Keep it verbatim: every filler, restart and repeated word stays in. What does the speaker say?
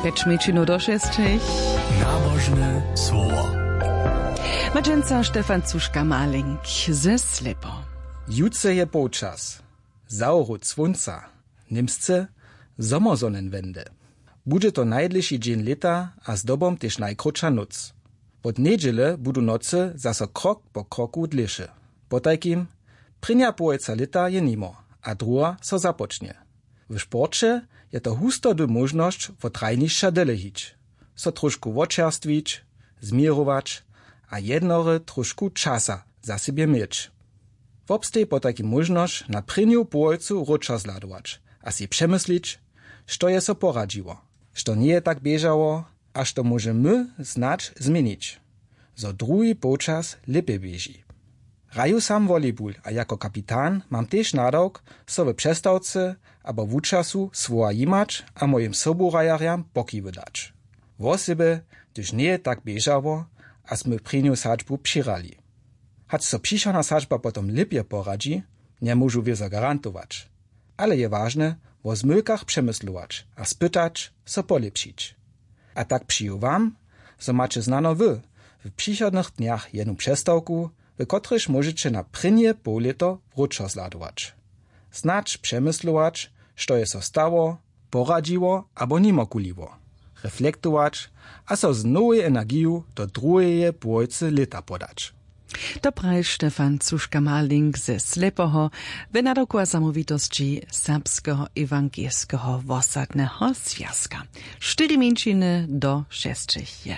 Pjeć mjeńšinow do šesćich. Nabožne słowo. Ma dźensa Štefan Cuška-Maling ze Slepo. Jutře je połčas, zawrót słónca, w němsce Sommersonnenwende. Budźe to najdlěši dźeń lěta a zdobom tež najkrótša nóc. Wot njedźele budu nocy zaso krok po kroku dlěše. Potajkim, prěnja połojca lěta je nimo a druha so započnje. W sporće je to hustody móžnosć wot hrajnišća dele hić, so tróšku wočerstwić, změrować a jednore tróšku časa za sebje měć. Wobsteji potajkim móžnosć na prěnju połojcu wróćo zhladować a sej přemyslić, što je so poradźiło, što njeje tak běžało a što móžemy snadź změnić, zo druhi połčas lěpje běži. Hraju sam volejbul a jako kapitan mam tež nadawk, so w přestawce abo wučasu słowa jimać a mojim sobuhrajerjam pokiwy dać. Wosebje, hdyž njeje tak běžało a smy prěnju sadźbu přihrali. Hač so přichodna sadźba potom lěpje poradźi, njemóžu wězo garantować. Ale je wažne, wo zmylkach přemyslować a spytać, so polěpšić. A tak přiju wam, zo maće znano wy w přichodnych dnjach jednu přestawku, w kotrejž móžeće na prěnje połlěto wróćo zhladować. Snadź přemyslować, što je so stało, poradźiło abo nimokuliło, reflektować a so z nowej energiju do druheje połojcy lěta podać. To praji Štefan Cuška-Maling ze Slepoho w nadawku a zamołwitosći Serbskeho ewangelskeho wosadneho zwjazka. Štyri mjeńšiny do šesćich je.